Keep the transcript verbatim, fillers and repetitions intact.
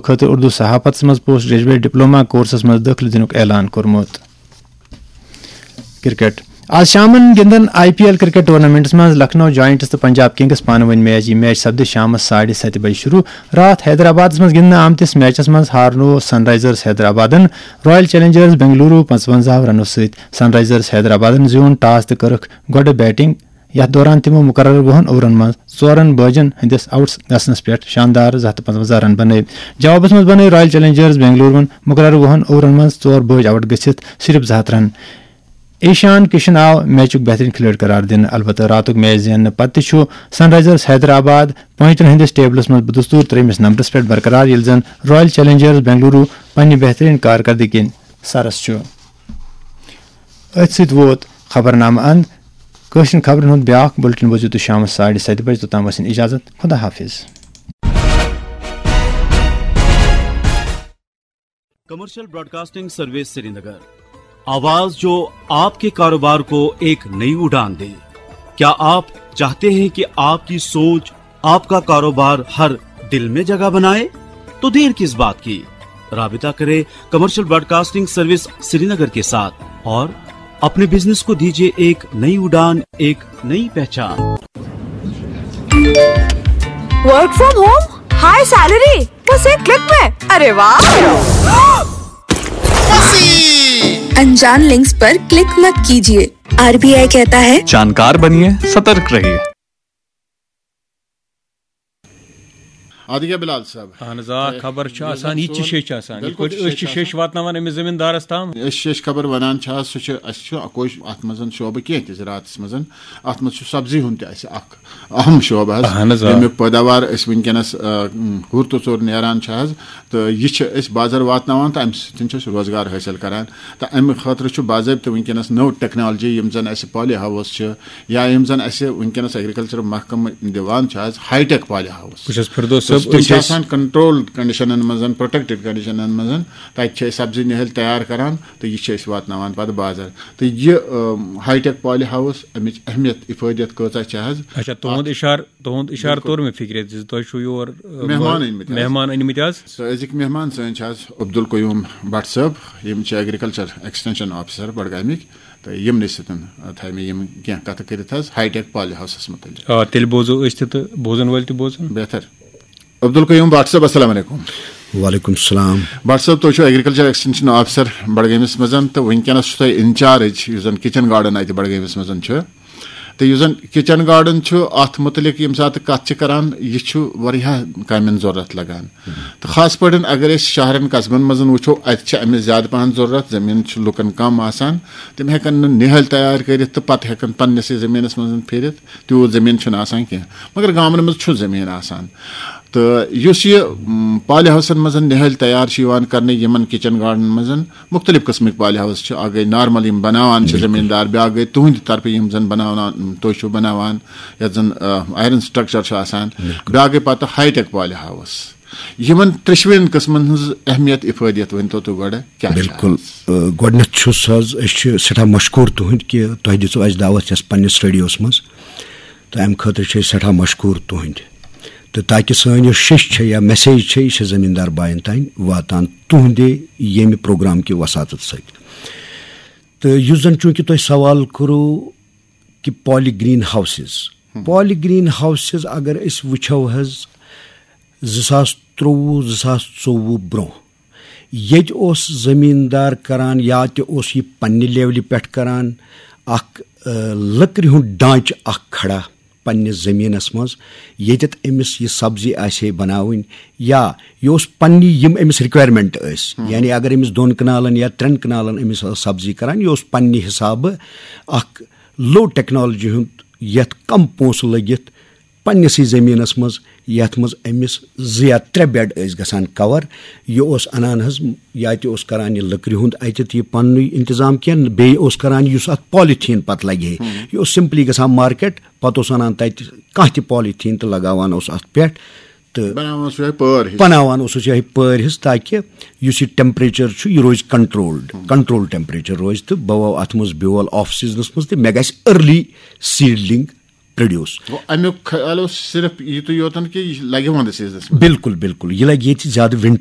خٲطرٕ اردو صحافتس منٛز post graduate diploma courses منٛز دٲخلہٕ دِنُک اعلان کوٚرمُت۔ کرکٹ۔ آز شامن گِنٛدن I P L cricket tournaments منٛز لکھنؤ جائنٹس تہٕ پنجاب کنگس پانہٕ ؤنۍ میچ۔ یہِ میچ سپدِ شامس ساڑِ ستہِ بجہِ شروع۔ راتھ حیدرآبادس منٛز گِنٛدنہٕ آمتِس میچس منٛز ہارنوو سن رائزرز حیدرآبادن رائل چیلنجرز بنگلورو پنٛژونزاہ رنو سۭتۍ۔ سن رائزرز حیدرآبادن زیوٗن ٹاس تہٕ کٔرٕکھ گۄڈٕ بیٹنگ۔ یتھ دوران تِمو مقررٕ وُہن اوورن منٛز ژورن بٲجن ہٕنٛدِس آؤٹ گژھنس پٮ۪ٹھ شاندار زٕ ہتھ تہٕ پنٛژونزاہ رن بنٲوۍ۔ جوابس منٛز بنٲوۍ رائل چیلنجرز بنگلورون مقررٕ وُہن اوورن منٛز ژور بٲج آؤٹ گٔژھِتھ صرف زٕ ہتھ رن۔ ایشان کشن آو میچُک بہترین کھلٲڑۍ قرار دِنہٕ۔ البتہ راتُک میچ زیننہٕ پتہٕ تہِ چھُ سن رائزرز حیدرآباد پوینٹن ہٕنٛدِس ٹیبلس منٛز بدستور ترٛیٚیمِس نمبرس پٮ۪ٹھ برقرار، ییٚلہِ زن رائل چیلنجرز بنگلورو پننہِ بہترین کارکردگی کِنۍ سرس چھُ۔ أتھۍ سۭتۍ ووت خبرنامہٕ اند۔ کٲشرٮ۪ن خبرن ہُنٛد بیٛاکھ بُلٹن بوٗزِو تُہۍ شامس ساڑِ ستہِ بجہِ۔ توٚتام ٲسِن اجازت۔ خدا حافظ۔ کمرشل براڈکاسٹنگ سروس سرینگر، آواز جو آپ کے کاروبار کو ایک نئی اڑان دے۔ کیا آپ چاہتے ہیں کہ آپ کی سوچ، آپ کا کاروبار ہر دل میں جگہ بنائے؟ تو دیر کس بات کی، رابطہ کریں کمرشل براڈکاسٹنگ سروس سرینگر کے ساتھ اور اپنے بزنس کو دیجیے ایک نئی اڑان، ایک نئی پہچان۔ Work from home, high salary, बस एक क्लिक में। अरे वाह। अनजान लिंक्स पर क्लिक मत कीजिए। आरबीआई कहता है, जानकार बनिए, सतर्क रहिए। آدگیا بلال صٲب۔ اہن حظ آ، خبر چھِ یُس آسان، زَن یہِ تہِ چھِ سون- شیٚچھ آسان، یِتھ بِلکُل پٲٹھۍ چھِ أسۍ چھِ شیٚچھ شیٚچھ واتناوان أمِس زٔمیٖندارَس تام۔ أسۍ شیٚچھ خبر وَنان چھِ آز، سُہ چھُ، اَسہِ چھُ کوٚش اَتھ منٛز شعبہٕ کینٛہہ تہِ زِراعتَس منٛز۔ اَتھ منٛز چھُ سبزی ہُنٛد تہِ اَسہِ اَکھ اہم شعبہٕ حظ، اہن حظ، آ۔ ییٚمیُک پٲداوار أسۍ وٕنکیٚنَس، آ، ہُر تہٕ ژوٚر نیران چھِ حظ، تہٕ یہِ چھِ أسۍ بازر واتناوان تہٕ اَمہِ سۭتۍ چھِ أسۍ روزگار حٲصِل کَران۔ تہٕ اَمہِ خٲطرٕ چھُ باضٲبطہٕ وٕنکیٚنَس نٔو ٹیکنالجی، یِم زَن اَسہِ پالی ہاوُس چھِ، یا یِم زَن اَسہِ وٕنکیٚنَس ایگریکلچر محکمہٕ دِوان چھِ حظ، ہائی ٹیک پالی ہاوُس۔ بہٕ چھُس فردوس صٲب، تِم أسۍ چھِ ٲسۍ- آسان کنٹرولڈ کنڈیشنن منٛز، پروٹیکٹڈ کنڈیشنن منٛز۔ تَتہِ چھِ أسۍ سبزی نِہٲلۍ تیار کران تہٕ یہِ چھِ أسۍ واتناوان پتہٕ بازر۔ تہٕ یہِ، ٲم، ہائی ٹیک پالی ہاوُس، اَمِچ اہمیت، افٲدیت کۭژاہ چھِ حظ؟ اچھا، تُہُنٛد اِشارٕ، تُہُنٛد اِشارٕ توٚر مےٚ فِکرِ زِ تۄہہِ چھُو یور، ٲ، مہمان أنۍمٕتۍ حظ۔ مہمان أنۍمٕتۍ حظ۔ تہٕ أزِکۍ مہمان سٲنۍ چھِ حظ عبدالقیوم بٹ صٲب، یِم چھِ ایگریکلچر ایکسٹینشن آفیسر بڈگامِکۍ، تہٕ یِمنٕے سۭتۍ، آ، تھایہِ مےٚ یِم کینٛہہ کتھٕ کٔرِتھ حظ ہائی ٹیک پالی ہاوسس متعلق۔ آ، تیٚلہِ بوزو أسۍ تہِ تہٕ بوزن وٲلۍ تہِ بوزن۔ بہتر۔ عبدالقیوم بٹ صٲب، السلام علیکم۔ وعلیکم السلام۔ بٹ صٲب، تُہۍ چھِو ایگریکلچر ایکسٹینشن آفیسر بڈگٲمِس منٛز، تہٕ وٕنکیٚنس چھُو تۄہہِ انچارج یُس زن کچن گارڈن اتہِ بڈگٲمِس منٛز چھُ، تہٕ یُس زن کچن گارڈن چھُ، اتھ متعلق ییٚمہِ ساتہٕ کتھ چھِ کران، یہِ چھُ واریاہ کامٮ۪ن ضروٗرت لگان۔ تہٕ خاص پٲٹھۍ اگر أسۍ شہرن قصبن منٛز وٕچھو، اتہِ چھِ امِچ زیادٕ پہن ضروٗرت، زٔمیٖن چھُ لُکن کم آسان، تِم ہٮ۪کن نہٕ نِہٲلۍ تیار کٔرِتھ تہٕ پتہٕ ہٮ۪کن پننِسٕے زٔمیٖنس منٛز پھِرِتھ، تیوٗت زٔمیٖن چھُنہٕ آسان کینٛہہ، مگر گامن منٛز چھُ زٔمیٖن آسان۔ تہٕ یُس یہِ، م، پالی ہاوسن منٛز نِہٲلۍ تیار چھِ یِوان کرنہٕ، یِمن کچن گارڈنن منٛز مُختٔلِف قٕسمٕکۍ پالی ہاوس چھِ، اکھ گٔے نارمل یِم بناوان چھِ زٔمیٖندار، بیٛاکھ گٔے تُہنٛدِ طرفہٕ یِم زن بناوان، تُہۍ چھِو بناوان، یتھ زن، آ، آیرن سٹرکچر چھُ آسان، بیٛاکھ گٔے پتہٕ ہائی ٹیک پالی ہاوس۔ یِمن ترٛیٚشوٕنی قٕسمن ہٕنٛز اہمیت، افٲدیت ؤنۍتو تُہۍ گۄڈٕ کیٛاہ چھِ بِلکُل۔ آز؟ آ، گۄڈٕنیتھ چھُس حظ، أسۍ چھِ سٮ۪ٹھاہ مشکوٗر تُہٕنٛدۍ کہِ تۄہہِ دِژوٕ اَسہِ دعوت یَتھ پننِس ریڈیوَس منٛز، تہٕ اَمہِ خٲطرٕ چھِ أسۍ سٮ۪ٹھاہ مشکوٗر تُہٕنٛدۍ۔ تہٕ تاکہِ سٲنۍ یۄس شیٚچھ چھےٚ یا میسیج چھےٚ، یہِ چھےٚ زٔمیٖندار بایَن تام واتان تُہٕنٛدے ییٚمہِ پروگرام کہِ وساطت سۭتۍ۔ تہٕ یُس زَن چوٗنٛکہِ تۄہہِ سوال کوٚروٕ کہِ پالی گرین ہاوسز، پالی گرین ہاوسز اگر أسۍ وٕچھو حظ، زٕ ساس ترٛۆوُہ، زٕ ساس ژوٚوُہ برونٛہہ ییٚتہِ اوس زٔمیٖندار کران، یا تہِ اوس یہِ پننہِ لیولہِ پٮ۪ٹھ کران، اکھ، آ، لٔکرِ ہُنٛد ڈانٛچہٕ اکھ کھڑا پننِس زٔمیٖنَس منٛز، ییٚتٮ۪تھ أمِس یہِ سبزی آسہِ ہے بناوٕنۍ، یا یہِ اوس پننہِ یِم أمِس requirement ٲسۍ، یعنی اگر أمِس دۄن کنالن یا ترٛٮ۪ن کنالن أمِس ٲس سبزی کران، یہِ اوس پننہِ حسابہٕ اکھ low technology ہُنٛد، یتھ کم پونٛسہٕ لٔگِتھ پننِسٕے زٔمیٖنَس منٛز، یَتھ منٛز أمِس زٕ یا ترٛےٚ بیڈ ٲسۍ گژھان کور۔ یہِ اوس اَنان حظ، یا تہِ اوس کران یہِ لٔکرِ ہُنٛد اَتٮ۪تھ یہِ پننُے انتظام کینٛہہ، بیٚیہِ اوس کران یُس اَتھ پالیٖتھیٖن پتہٕ لگہِ ہے۔ یہِ اوس simply گژھان مارکیٹ، پتہٕ اوس اَنان تَتہِ کانٛہہ تہِ پالیٖتھیٖن تہٕ لگاوان اوس اَتھ پٮ۪ٹھ۔ تہٕ بناوان اوس یِہوٚے پٲر ہِش۔ بناوان اوسُس یِہوٚے پٲر ہِش، تاکہِ یُس یہِ temperature چھُ، یہِ روزِ controlled، control temperature روزِ، تہٕ بہٕ وَوٕ اَتھ منٛز بیول آف سیٖزنَس منٛز، تہٕ مےٚ گژھِ early seedling produce۔ گوٚو، اَمیُک خیال اوس صرف یِتُے یوتن کہِ یہِ لگہِ وَندٕ سیٖزنَس منٛز۔ بِلکُل، بِلکُل، یہِ لگہِ ییٚتہِ زیادٕ winter